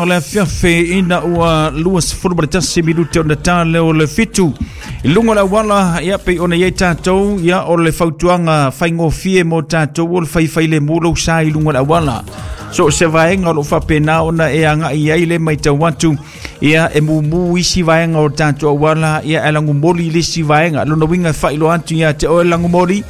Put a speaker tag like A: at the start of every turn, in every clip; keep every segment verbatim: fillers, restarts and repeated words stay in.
A: o le afiafi ina ua luasefulu ma le tasi minute ona ta lea o le fitu. I luga o le auala, ia pei ona i ai tatou, ia o le fautuaga faigofie mo tatou o le faifailemu lou sa i luga o le auala. So o se vaega o loo faapena ona e agai ai le matau atu, ia e mumu isi vaega o tatou auala, ia e lagumoli le isi vaega. Lona uiga e faailoa atu ia te oe lagumoli,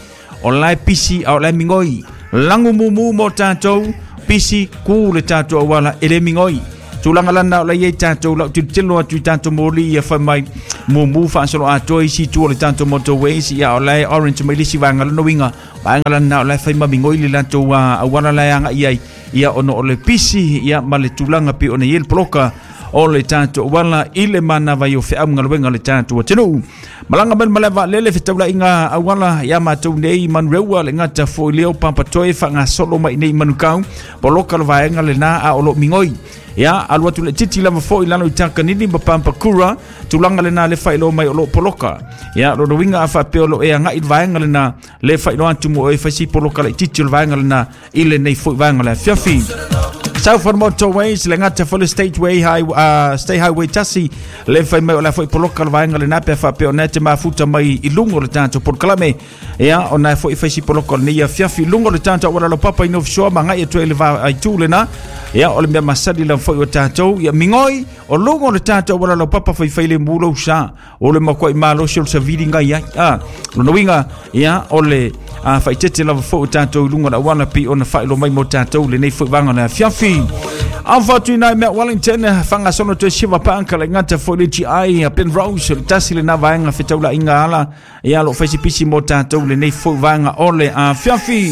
A: o la e pisi a o la e migoi. Lagu mumu mo tatou, pisi ku le tatou auala e le migoi. Tulaga lana o la i ai tatou lau tilotilo atu i tatou moli ia fai mai mumu faasolo atoa isi itu o le tatou motorways, ia o la e orange mai le isi vaega. Lona uiga vaega lana o la e fai ma migoi le latou auala la e agai ai, ia ona o le pisi ia ma le tulaga pei ona i ai le poloka o le tatou auala i le manava i o feau ma galuega o le tatou atunuu. Malaga mai le malae vaalele fetaulaiga auala ia matou nei Manureua le gata foi leo Papatoe faagasolo mai nei Manukau poloka le vaega lena a o loo migoi. Ia alu atu le titi lava foi lalo i Takanini ma Pampakura tulaga lena le faailoa mai o loo poloka. Ia lona uiga a faapea o loo e agai le vaega lena le faailoa atu mo e faisi poloka le titi o le vaega lena i lenei foi vaega o le afiafi. Southern Motorways le gata foi le Stateway High, uh, State Highway tasi le fai mai o la foi poloka le vaega lena pe faapea ona te mafuta mai i luga o le tatou polokalame. Ia ona foi faisi poloka o lenei afiafi luga o le tatou auala laupapa i North Shore ma agai atu ai le vaaitu lena. Ia o le mea masali lava foi o tatou ia migoi o luga o le tatou auala laupapa faifailemu lou sa o le makuai malosi o le savili ngai ai. Ah, lona uiga ia o le a faitete lava foi o tatou i luga o le auala pei ona faailoa mai mo tatou lenei foi vaega o le afiafi. Alpha atu i mea Wellington whangasono toe Shiva Park le gata foi le G I Penrose le tasi lena vaega fetaulaiga ala ia lo faisipisi mo tatou lenei foi vaega o le afiafi.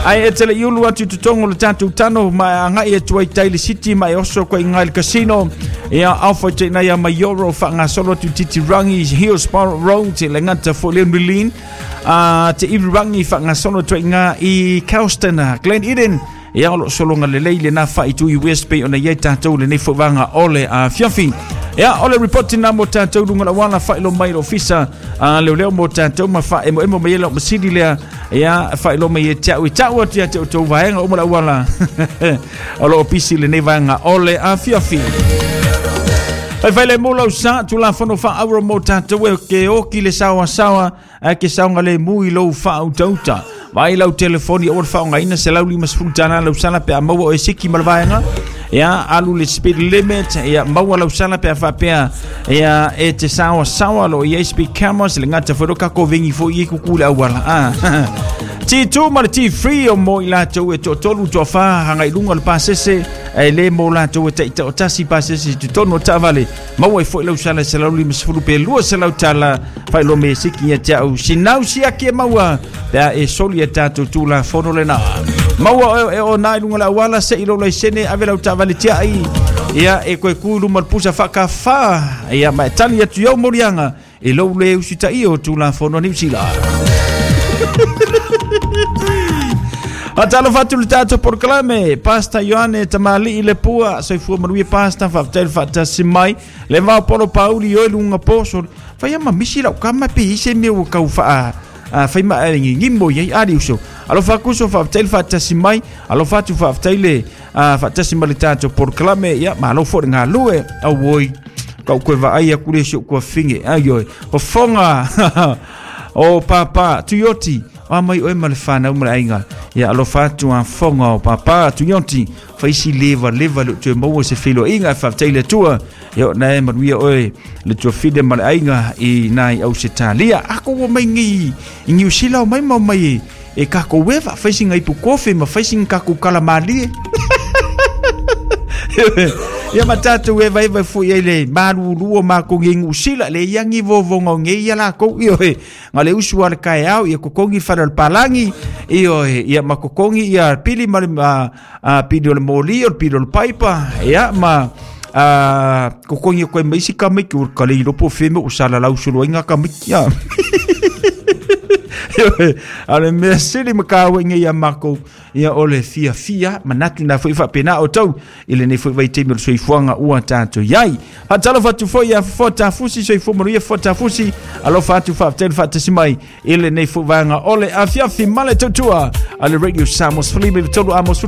A: Ai e tele iulu atu i totonu o le tatou tano ma agai atu ai tai le city ma e oso koe i ngai le casino. Ia alpha te nai a Maioro whangasolo atu Titirangi Hillsborough Road le gata foi le Milin a te Iwirangi whangasolo atu ai ngā i Calston Glen Eden. Ia o lo solonga lelei le na whaitu i West Bay ona iai tatou lenei foi vaega o le afiafi. Ia o le reporti na mo tatou lunga la wala whailo mai lo ofisa a leo leo mo tatou ma wha emo emo mai elo masili lea. Ia whailo mai e tau i tau atu ia te o vaega o mo la wala o lo opisi lenei vaega o le afiafi. Fai le mo lau sa tulafono faauro mo tatou e ke oki le sawa sawa a ke saonga le mui lou faautauta. Vai lau telefoni o le faaaogaina selau limasefulu tala lau sala pe a maua o e siki ma le vaega. Ia alu le speed limit ia maua lau sala pe a faapea ia e te sawa sawa lo i ai speed cameras le gata foi lo kako vengi foi i kuku le auala. Ah. T two ma le T three o mo i latou e toatolu toafa hangai luga o le pasese e le mo latou e taitaotasi pasese totonu o taavale maua ai foi lau sala selau limasefulu pe lua selau tala faailoa me siki ia te au sinau siaki e maua pe a e soli e tatou tulafono lena. Maua e o nai luga le auala se i lou laisene ave lau taavale tiai ia e koe ku i luma le pusa faakafā ia ma e tali atu iau moliaga e lou le usitaia o tulafono a Niu Sila. Atalo fatu le tatou polokalame Pasta Ioane Tamalii le pua soifua manuia Pasta faafetai le faatasi mai le vao polo pauli oi luga poso fai ama misi lau kama pe i se mea ua kau faa fai ma ngigimo i ai ali uso alofa kuso faafetai le faatasi mai alofa atu faafetai le faatasi mai le tatou polokalame ia malo foi le galue auoi kau koe vaai aku le si ou kuafinge ai oi fofoga o papa Tuioti a mai oe ma le whanau ma le aiga. Ia alofa atu a fonga o papa Tuioti faisi leva leva le toe maua se feiloaiga e faafetai le Atua ia ona e manuia oe le tuafine ma le aiga i nai Ausetalia. Ako ua mai nei i Niu Sila o mai ma o mai e kako ueva faisi ngai pukofe ma faisi kako kalamalie. Ia ma tatou eva eva foi ai le malulu o makou i Niu Sila le iagi vovonga o nei ia lakou ioe ga le usu a le kaeao ia kokogi fale o le palangi ioe ia ma kokogi ia pili ma le pili o le moli o le pili o le paipa ia ma kokogi o koe ma isi kamiki o ka le ilopo feme o salalau soloaiga kamiki a. A le mea sili ma kāuaiga ia makou ia o le fiafia manatu na foi faapena o tau i lenei foi vaitaimi o le soifuaga ua tatou iai. Faatalofa atu foi ia fofoa tafusi soifua manuia fofoa tafusi alofa atu faafetai le faatasi mai i lenei foi vaega o le afiafi ma le tautua a le Radio Samoa sefulu lima tolu Amos